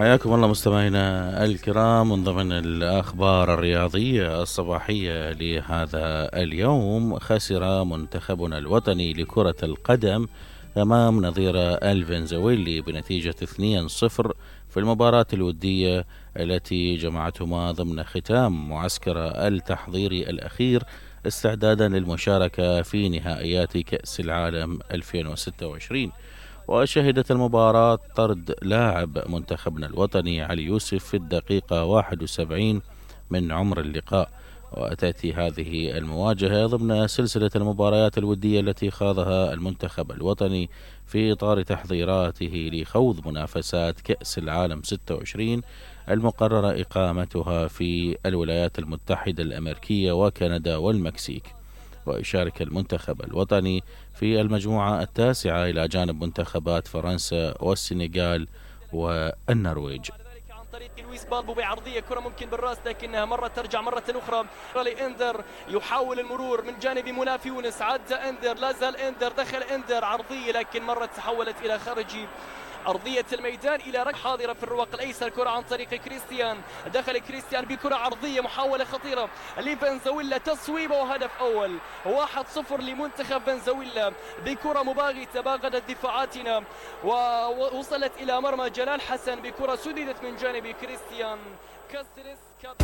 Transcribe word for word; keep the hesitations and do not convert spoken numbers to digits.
حياكم الله مستمعينا الكرام من ضمن الأخبار الرياضية الصباحية لهذا اليوم. خسر منتخبنا الوطني لكرة القدم أمام نظيره الفنزويلي بنتيجة اثنين صفر في المباراة الودية التي جمعتهما ضمن ختام معسكر التحضيري الأخير استعدادا للمشاركة في نهائيات كأس العالم ألفين وستة وعشرين. وشهدت المباراة طرد لاعب منتخبنا الوطني علي يوسف في الدقيقة واحد وسبعين من عمر اللقاء. وتأتي هذه المواجهة ضمن سلسلة المباريات الودية التي خاضها المنتخب الوطني في إطار تحضيراته لخوض منافسات كأس العالم ستة وعشرين المقررة إقامتها في الولايات المتحدة الأمريكية وكندا والمكسيك. ويشارك المنتخب الوطني في المجموعة التاسعة إلى جانب منتخبات فرنسا والسنغال والنرويج. عن طريق لويس بالبو بعرضية كرة ممكن بالراس لكنها مرة ترجع مرة أخرى لإندر يحاول المرور من جانب مناف يونس. عدى إندر، لا زال إندر، دخل إندر عرضية لكن مرة تحولت إلى خارج أرضية الميدان إلى ركلة حاضرة في الرواق الأيسر. كرة عن طريق كريستيان، دخل كريستيان بكرة عرضية، محاولة خطيرة لفنزويلا، تصويبة وهدف أول. واحد صفر لمنتخب فنزويلا بكرة مباغتة باغتت دفاعاتنا ووصلت إلى مرمى جلال حسن بكرة سددت من جانب كريستيان كاستريس.